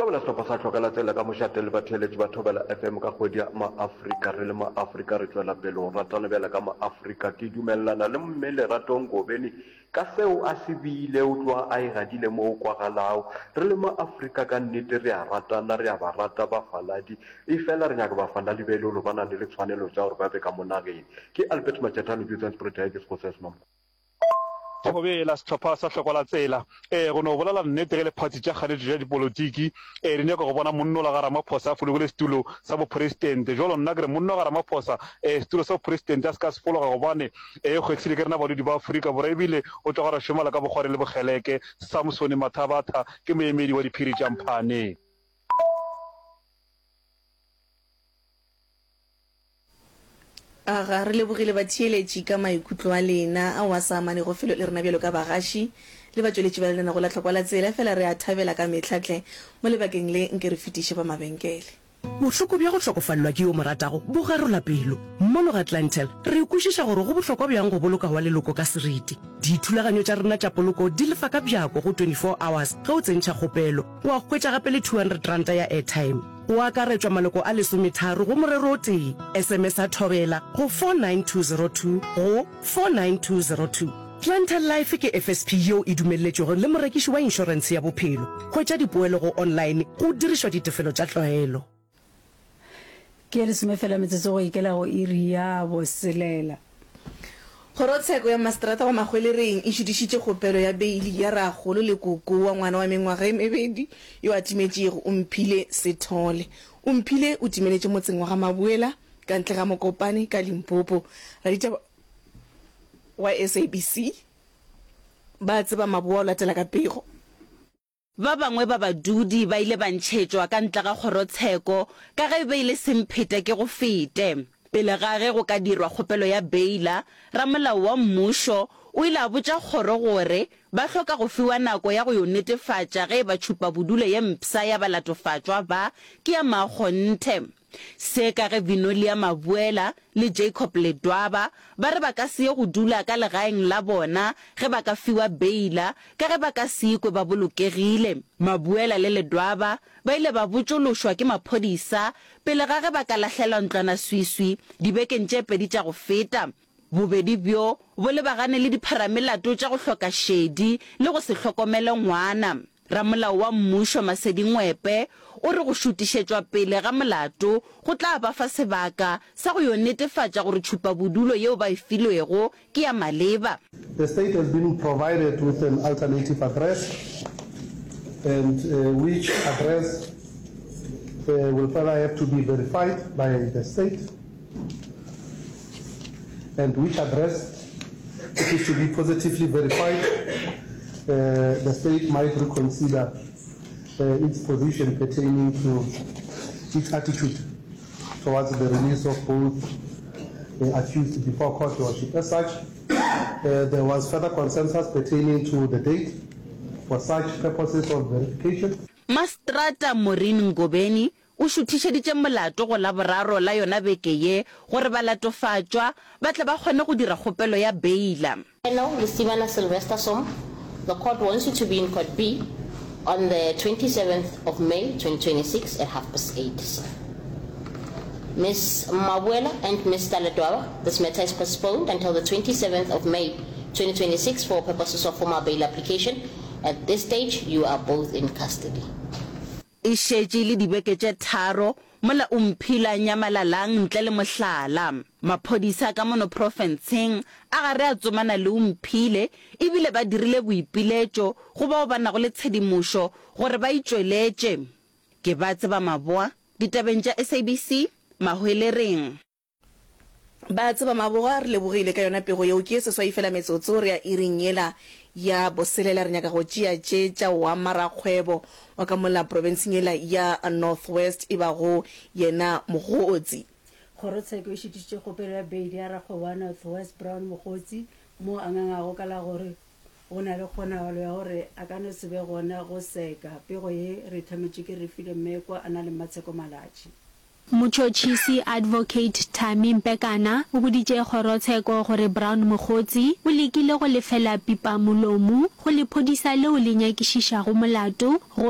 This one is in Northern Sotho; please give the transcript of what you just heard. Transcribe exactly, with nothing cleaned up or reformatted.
Thobela Sehlopha sa Hlokela Tsela ka mošate le batheeletši ba Thobela F M ka kgwedi ya Maafrika. Re le Maafrika re tšwela pele go ratana bjale ka Maafrika. Ke dumelelana le Mme Lerato Ngobeni ka seo a se beile, o tloga a e gadile mo go kwagalago. Re le Maafrika ka nnete re a ratana, re a ba rata bafaladi, efela re nyaka bafaladi ba e le gore ba na le ditshwanelo tša gore ba be ka mo nageng. Ke Albert Majatane, Johannesburg, ke Sekgosi sa Semamko. Thobela, Sehlopha sa Hlokola Tsela. Ee, go no bolela nnete ge lephathi tša kganetšo tša dipolotiki ee di nyaka go bona monnola ga Ramaphosa a fologile setulo sa bopresidente. Jwalo nna ke re monno ga Ramaphosa ee setulo sa bopresidente a se ka se fologa gobane ee kgwehlile ke rena badudi ba Afrika Borwa ebile o tloga ra šomela ka bokgwari le bokgeleke. Samsone Mathabatha ke moemedi wa diphiri tša Mphane. Aga, re lebogile batheeletši ka maikutlo a lena ao a sa amanego felo le rena bjalo ka bagaši le batšweletši ba lenanego la Tlhokwa la Tsela, efela re a thabela ka mehla tle mo lebakeng le nke re fetiše ba mabenkele. Bohloko bja go hlokofalelwa ke yo o mo ratago bo garola pelo. Mono ga Clientele, re kwešiša gore go bohlokwa bjang go boloka wa leloko ka seriti. Dithulaganyo tša rena tša poloko di lefa ka bjako go twenty four hours ge o tsentšha kgopelo, wa hwetša gape le two hundred ranta ya airtime. Go akaretšwa maloko a lesometharo go morero o tee. S M S a Thobela go four nine two zero two go four nine two zero two. Clientele Life ke F S P yeo e dumelletšwego le morekiši wa inšorentshe ya bophelo. Hwetša dipoelo go online go dirišwa ditefelo tša tlwaelo. Ke ye lesome fela metsotso go ikela go iri ya boselela. Kgorotsheko ya Maseterata wa Mahwelereng e šutišitše kgopelo ya beili ya rakgolo le koko wa ngwana wa mengwaga e mebedi yo a timetšego, Omphile Sithole. Omphile o timeletše motseng wa ga Mabuela ka ntle ga Mokopane ka Limpopo. Raditaba wa S A B C ba tseba Maboa o latela ka pego. Ba bangwe ba badudi ba ile ba ntšhetšwa ka ntle ga kgorotsheko ka ge e be e le semphete ke go fete. Pele ga ge go ka dirwa kgopelo ya beila, ramolao wa mmušo o ile a botša kgoro gore ba hloka go fiwa nako ya go yo netefatša ge e ba tšhupabodulo ye mpsha ya balatofatšwa ba ke ya maakgonthe. Se ka ge Vinolia Mabuela le Jacob Ledwaba ba re ba ka se ye go dula ka legaeng la bona ge ba ka fiwa beila ka ge ba ka se ikwe ba bolokegile. Mabuela le Ledwaba ba ile ba botšološwa ke maphodisa pele ga ge ba ka lahlelwa ntlwanaswiswi dibekeng tše pedi tša go feta. Bobedi bjo bo lebagane le dipharamelato tša go hloka šedi le go se hlokomele ngwana. Ramolao wa mmušo Masedi Ngwepe o re go šutišetšwa pele ga molato go tla ba fa sebaka sa go yo netefatša gore tšhupabodulo yeo ba e filwego ke ya maleba. The state has been provided with an alternative address and which address will further have to be verified by the state and which address if is to be positively verified, uh, the state might reconsider uh, its position pertaining to its attitude towards the release of both uh, accused before court, Your Worship. As such, uh, there was further consensus pertaining to the date for such purposes of verification. Maseterata Maureen Ngobeni o šuthišeditše molato go Laboraro la yona beke ye gore balatofatšwa ba tle ba kgone go dira kgopelo ya beila. Colonel Lesibana Sylvester Som, the court wants you to be in Court B on the twenty-seventh of May twenty twenty-six at half past eight, sir. Miz Mabuela and Mister Ledwaba, this matter is postponed until the twenty-seventh of May twenty twenty-six for purposes of formal bail application. At this stage, you are both in custody. E šetše e le dibeke tše tharo mola Omphile a nyamalalang ntle le mohlala. Maphodisa ka mono profenseng a gare a tsomana le Omphile ebile ba dirile boipiletšo go bao ba nago le tshedimošo gore ba itšweletše. Ke ba tseba Maboa, ditabeng tša S A B C, Mahwelereng. Ba tseba Maboga, re lebogile ka yona pego yeo. Ke ye seswai fela metsotso re ya iring yela ya boselela. Re nyaka go tšea tše tša wa marakgwebo wa ka mola profenseng yela ya North West e bago yena Mogotsi. Kgorotsheko e šitišitše kgopelo ya beili ya rakgwebo wa North West Brown Mogotsi moo a ngangago ka la gore go na le kgonagalo ya gore a ka no se be gona go seka. Pego ye re e thometšwe ke Refilwe Mmekwa a na le Mmatsheko Malatji. Motšhotšhisi Advocate Thami Mpekana o boditše kgorotsheko gore Brown Mogotsi o lekile go lefela pipamolomo go lephodisa leo le nyakišišago molato go